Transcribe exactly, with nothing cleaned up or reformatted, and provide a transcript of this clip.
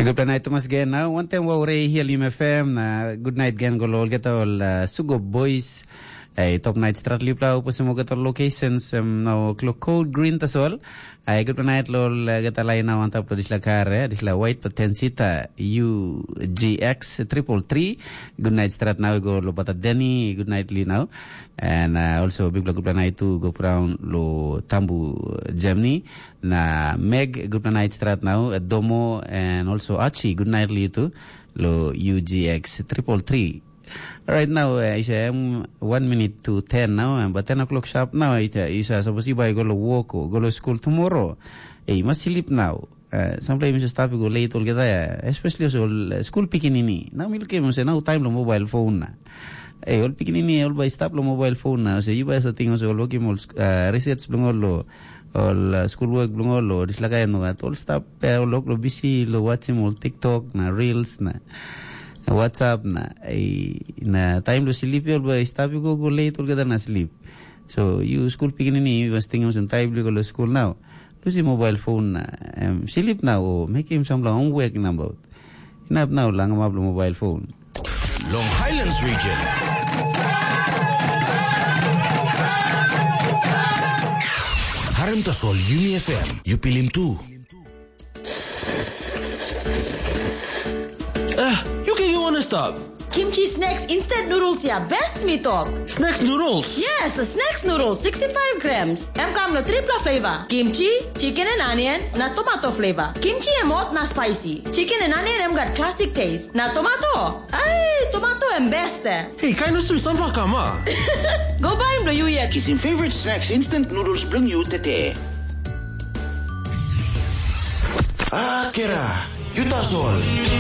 Gupta nait tumas gen na wantaim wau rei hia Lim F M na good night gen go lo olgeta ol uh, Sugo Boys. Ei, top night strat lipla upo simo geta locations um, no klo code green tasol. Ei, gupta nait lo uh, geta lai na wantap lo disla kar eh, disla white paten sita U G X triple three. Good night strat now go lo bata Denny. Good night li now. And uh, also big gupta night to go around lo Tambu Germany. Na Meg, gupna night strat now, Domo, and also Achi, good night li tu, lo U G X triple three. Right now, uh, it's um, one minute to ten now, and but ten o'clock sharp now, it uh, is uh, supposed to go lo work or go lo school tomorrow. Hey, must sleep now. Uh, sometimes you stop go late all get there, especially also uh, school picking in. Now we look at say now time lo mobile phone na. Hey, all picking in all by stop lo mobile phone na. So you buy something also look him all uh, research lo all lo all uh, school work bilong ol o dislakaia nogat ol stap eh, ol lok lo bisi lo watchim ol TikTok na reels na WhatsApp na eh, na taim lo slip ol bai stap i go go late olgeta na slip. So you school pikinini you must think some time lo go lo school now. Lusi mobile phone na um, slip na o mekim sampela homework na about. Inap now langamap lo mobile phone. Long Highlands Region. Harim tasol Yumi F M, yu pilim tu. Ah, yu ken yu wanna stop. Kimchi snacks instant noodles ya best mi tok. Snacks noodles? Yes, snacks noodles, sixty-five grams. Em kam lo tripla flavor. Kimchi, chicken and onion, na tomato flavor. Kimchi em hot na spicy. Chicken and onion em gat classic taste. Na tomato, ai, tomato em best eh. Hey, kain olsem sunflower kam a? Go baim lo yu yet. Kisim favorite snacks instant noodles bilong yu tete. Ah, kera, yu tasol.